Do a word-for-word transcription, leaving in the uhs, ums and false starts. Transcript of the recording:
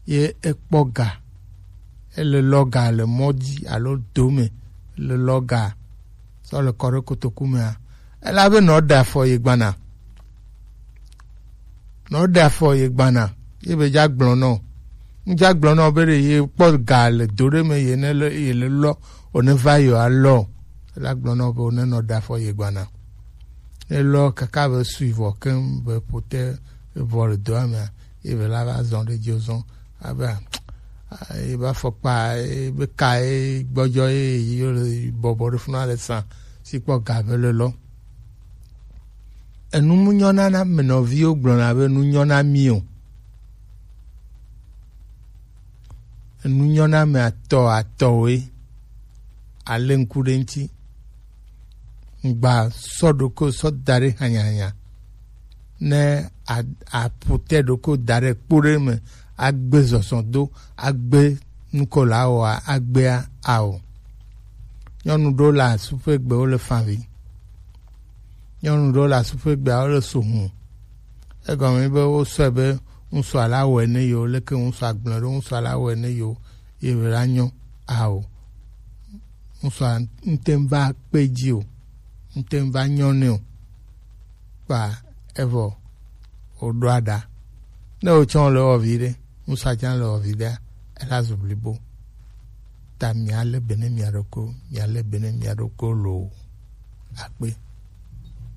ye ekpɔ ga, ele lɔ ga le mɔ dzi alo do me, ele lɔ ga sɔ le kɔ ɖe kotoku mea, ela be nɔ ɖe afɔ ye gbana. Nɔ ɖe afɔ ye gbana. Ye be dza gblɔ nɔ. Ŋdza gblɔ nɔ be ɖe ye kpɔ ga le do ɖe me ye ne le, ye le lɔ, o ne va yo alɔ. Ela gblɔ nɔ be o ne nɔ ɖe afɔ ye gbana. Ne lɔ kaka be sui vɔ keŋ be pote vɔ le doa mea, ye be la va zɔn ɖe dzi zɔn abe a, a, ye be afɔkpa, ye be ka, ye gbɔdzɔ, ye yi yo le bɔbɔ ɖe funa le sa si kpɔ ga be le lɔ. Enu mu nyɔna na menɔviwo gblɔna be nu nyɔna mi o. Enu nyɔna me atɔ atɔwoe. Ale ŋku ɖe ŋuti. Ŋgba sɔ ɖoko sɔ da ɖe hanyahanya. Ne a- apotɛ ɖoko da ɖe kpo ɖe me agbe zɔzɔ do agbe nuko la oa agbea ao. Nyɔnu ɖewo le asuƒegbe wo le favi. Nyɔnu ɖewo le asuƒegbe wo le so hũ. Egɔme be wosɔe be ŋutsua la wɔe ne yewo, leke ŋutsua gblɔ ɖo ŋutsua la wɔe ne yewo, ye be la nyɔ ao. Ŋutsua ŋte ŋva kpe dzi o, ŋte ŋva nyɔ nɛ o. Kpa evɔ wòɖo aɖa. Ne wòtsɔ le wɔ vi ɖe, ŋutsua tsã le wɔ vi ɖea, ela zu blibo. Ta mia le be ne mia ɖoko, mia le be ne mia ɖoko loo. Akpe.